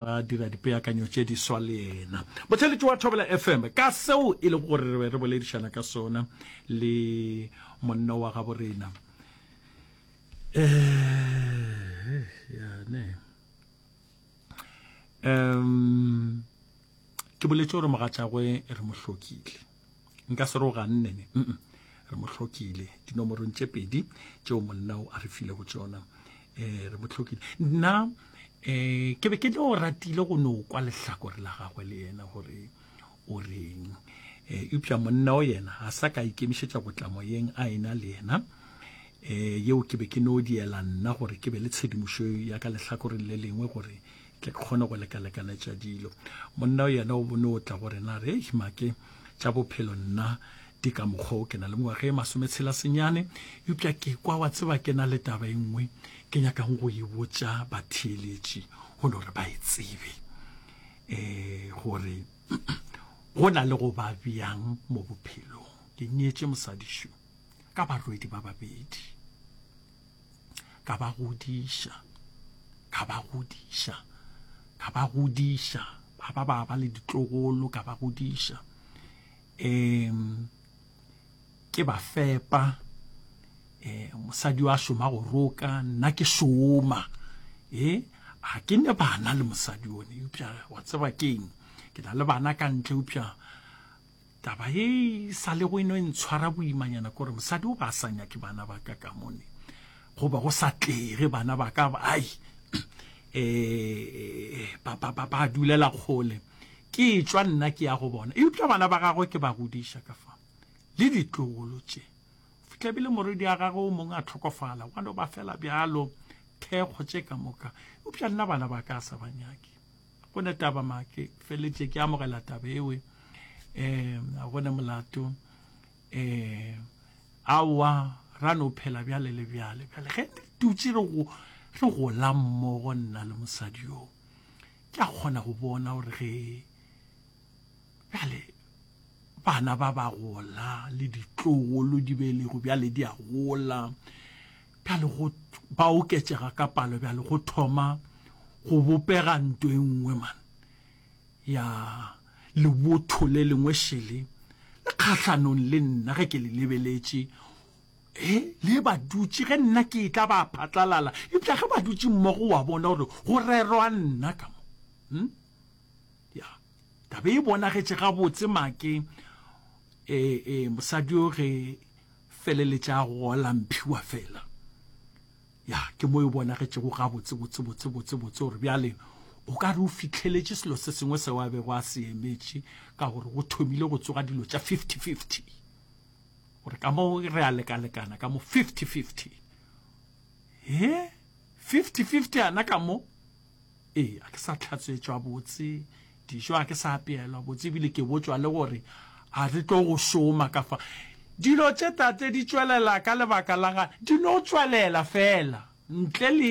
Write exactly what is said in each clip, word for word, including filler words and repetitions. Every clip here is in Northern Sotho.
Ra dira dipeakanyo tše diswa le yena. Motheeletši wa Thobela F M ka seo e lego gore re be re boledišana ka sona le monna wa gabo rena. Eh, ya ne. Um, ke boletše gore mogatšagwe re mo hlokile. Nka se re o ganne ne. Mm -mm. Re mo hlokile dinomorong tše pedi tšeo monna o a re filego tšona. Eh, re mo hlokile. Nna eh ke be ke no ratile go no kwa lehlakore la gagwe le yena gore o reng. Eh, eupša monna o yena a sa ka ikemišetša go tla moyeng a ena le yena. Eh, yeo ke be ke no diela nna gore ke be le tshedimošo ya ka lehlakoreng le lengwe gore ke kgone go lekalekanetša dilo. Monna o yena o bone o tla gore na re make tša bophelo nna di ka mokgwa o ke na le mengwaga e masometshela senyane, eupša ke kwa wa tseba ke na le taba e nngwe ke nyakang go e botša batheeletši go no re ba e tsebe, eh gore go na le go ba bjang mo bophelong. Ke nyetše mosadišo ka barwedi ba babedi, ka ba godiša, ka ba godiša, ka ba godiša, ba ba ba ba le ditlogolo, ka ba godiša. Em, ke ba fepa, eh, mosadi wa šoma go roka, nna ke šoma. Eh, a ke ne bana le mosadi one, eupša wa tseba keng, ke na le bana ka ntle, eupša taba e sa le go eno e ntshwara boimanyana ke gore mosadi o ba sa nyake bana ba ka ka mone, goba go sa tlege bana ba ka, ai, eh, ba, ba, ba, ba dulela kgole. Ke tšwa nna ke ya go bona, eupša bana ba gagwe ke ba godiša ka fa le ditlogolo tše. Fihla bile morwedi wa gagwe o mongwe a tlhokofala, wa no ba fela bjalo, thekgo tše ka moka, eupša nna bana ba ka sa ba nyake. Go ne taba make feletše ke amogela taba ewe, um a gone molato, um aowa ra no phela bjale le bjale. Bjale ge re dutše re go, re gola mmogo nna le mosadi yo, ke a kgona go bona gore ge bjale bana ba ba gola le ditlogolo di belego bjale di a gola, bjale go ba oketšega ka palo, bjale go thoma go bopega ntho e nngwe man ya lebotho le lengwe šele le kgahlanong le nna ge ke le lebeletše. E le ba dutše ge nna ke tla ba phatlalala, eupša ge ba dutše mmogo wa bona gore go rerwa nna ka mo. Hm? Ya, taba e bonagetše gabotse make, e, e, mosadi yo ge feleletša a gola mphiwa fela. Ya, ke mo e bonagetšego gabotse, botse, botse, botse, botse gore bjale o ka re o fihleletše selo se sengwe seo a bego a se emetše, ka gore go thomile go tsoga dilo tša fifty fifty, gore ka mo re a lekalekana ka mo fifty fifty. He, fifty fifty ana ka mo, ee, a ke sa tlhatswetšwa botse dijo, a ke sa apeelwa botse, ebile ke botšwa le gore a re tlo go šoma ka fa. Dilo tše tate di tšwelela ka lebaka la ga di no tšwelela fela ntle le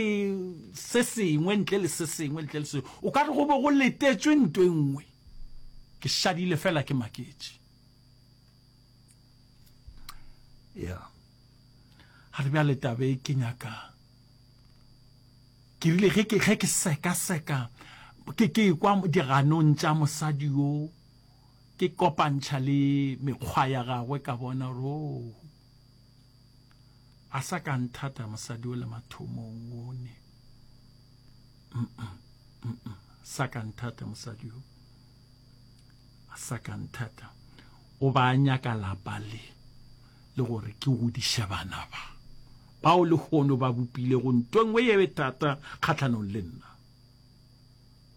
se sengwe, ntle le se sengwe, ntle le se, o ka re go be go letetšwe ntho e nngwe. Ke šadile fela ke maketše. Ya ga re bjale taba e ke nyaka ke rile ge ke ge ke sekaseka, ke ke kwa diganong tša mosadi yo, ke kopantšha le mekgwa ya gagwe, ka bona gore o a sa ka nthata mosadi o le mathomong one. Mm -mm, sa ka nthata mosadi yo, a sa ka nthata, o ba nyaka lapa le le gore ke godiše bana ba bao lehono ba bopilego ntho e nngwe ye thata kgahlanong le nna.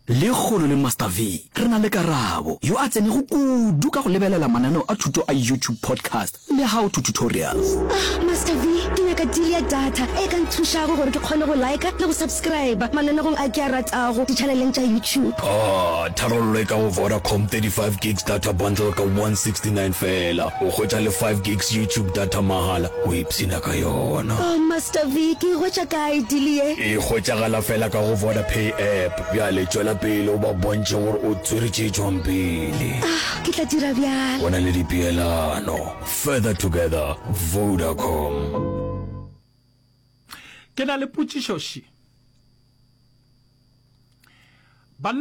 Lekgono le Master V re na le Karabo yo a tsenego kudu ka go lebelela mananeo a thuto a YouTube podcast le how to tutorials. Ah, Master V, ke nyaka deal ya data e ka nthušago gore ke kgone go like le go subscribe mananegong a ke a ratago di-channeleng tša YouTube. Ah, tharollo e ka go Vodacom thirty-five gigs data bundle ka one sixty-nine fela. O hwetša le five gigs YouTube data mahala, o ipshina ka yona. Oh, Master V, ke e hwetša kae deal ye? E hwetšagala fela ka go Vodapay app. Bjale tšwela pele o ba bontšhe gore o tswere tše tšwang pele. Ah, ke tla dira bjalo. Go na le dipeelano. Further together, Vodacom. Ke na le potšišo še. Banna